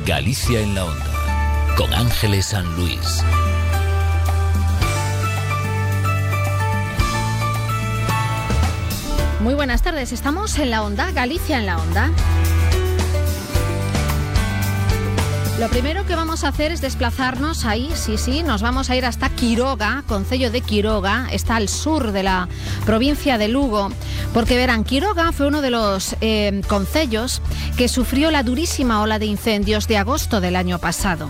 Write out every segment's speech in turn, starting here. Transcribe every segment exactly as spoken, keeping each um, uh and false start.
Galicia en la Onda, con Ángeles San Luis. Muy buenas tardes, estamos en la Onda, Galicia en la Onda. Lo primero que vamos a hacer es desplazarnos ahí, sí, sí, nos vamos a ir hasta Quiroga, concello de Quiroga, está al sur de la provincia de Lugo, porque verán, Quiroga fue uno de los eh, concellos que sufrió la durísima ola de incendios de agosto del año pasado.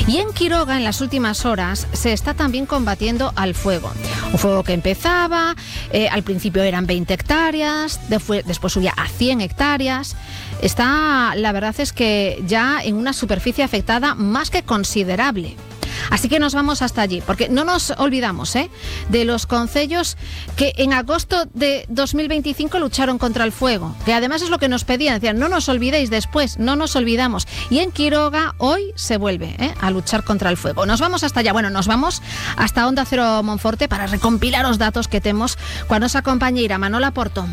Y en Quiroga, en las últimas horas, se está también combatiendo al fuego. Un fuego que empezaba, eh, al principio eran veinte hectáreas, después, después subía a cien hectáreas. Está, la verdad es que ya en una superficie afectada más que considerable. Así que nos vamos hasta allí, porque no nos olvidamos ¿eh? de los concellos que en agosto de dos mil veinticinco lucharon contra el fuego, que además es lo que nos pedían, decían, no nos olvidéis después, no nos olvidamos. Y en Quiroga hoy se vuelve ¿eh? a luchar contra el fuego. Nos vamos hasta allá, bueno, nos vamos hasta Onda Cero Monforte para recompilar os datos que temos coa nosa compañeira Manola Porto.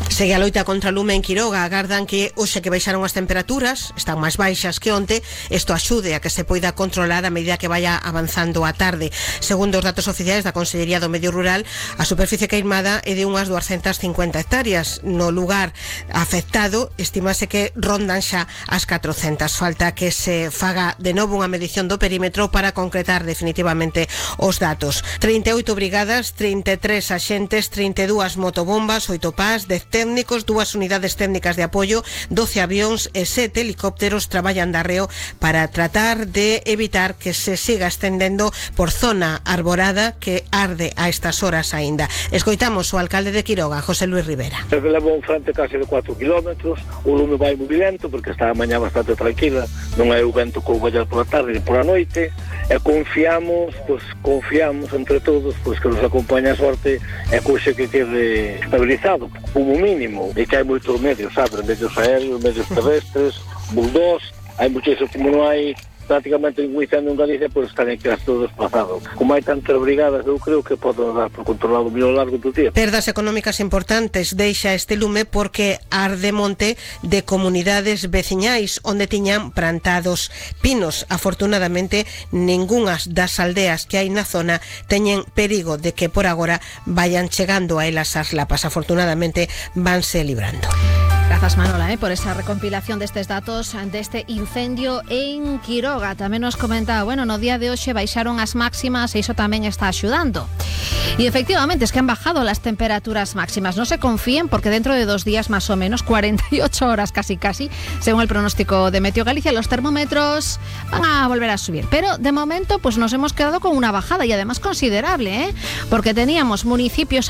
Segue a loita contra o lume en Quiroga. Agardan que hoxe que baixaron as temperaturas, están máis baixas que onte, isto axude a que se poida controlar a medida que vaya avanzando a tarde. Segundo os datos oficiais da Consellería do Medio Rural, a superficie queimada é de unhas duascentas cincuenta hectáreas. No lugar afectado, estimase que rondan xa as catrocentas. Falta que se faga de novo unha medición do perímetro para concretar definitivamente os datos. trinta e oito brigadas, trinta e tres axentes, trinta e dúas motobombas, oito pás, dez técnicos, dúas unidades técnicas de apoio, doce avións e sete helicópteros traballan de arreo para tratar de evitar que se siga estendendo por zona arborada que arde a estas horas aínda. Escoitamos o alcalde de Quiroga, José Luis Rivera. Se levou un frente case de catro kilómetros, o lume vai moi lento porque está a mañá bastante tranquila, non hai o vento que o vaya pola tarde e pola noite, e confiamos, pois confiamos entre todos, pois que nos acompaña a sorte e couxe que quede estabilizado, como mínimo, e que hai moitos medios, sabe, medios aéreos, medios terrestres, bulldogs, hai muchísimo, como non hai prácticamente ningún incendio en Galicia, pois están aquí todo desplazado. Como hai tantas brigadas, eu creo que poden dar por controlado o largo do día. Perdas económicas importantes deixa este lume porque arde monte de comunidades veciñais onde tiñan plantados pinos. Afortunadamente, ningunhas das aldeas que hai na zona teñen perigo de que por agora vayan chegando a elas as lapas. Afortunadamente, vanse librando. Grazas, Manola, eh, por esa recompilación destes datos deste incendio en Quiroga. Tamén nos comentaba, bueno, no día de hoxe baixaron as máximas e iso tamén está axudando. Y efectivamente, es que han bajado las temperaturas máximas. No se confíen porque dentro de dos días más o menos, cuarenta y ocho horas casi casi, según el pronóstico de Meteo Galicia, los termómetros van a volver a subir. Pero de momento pues nos hemos quedado con una bajada y además considerable, ¿eh? Porque teníamos municipios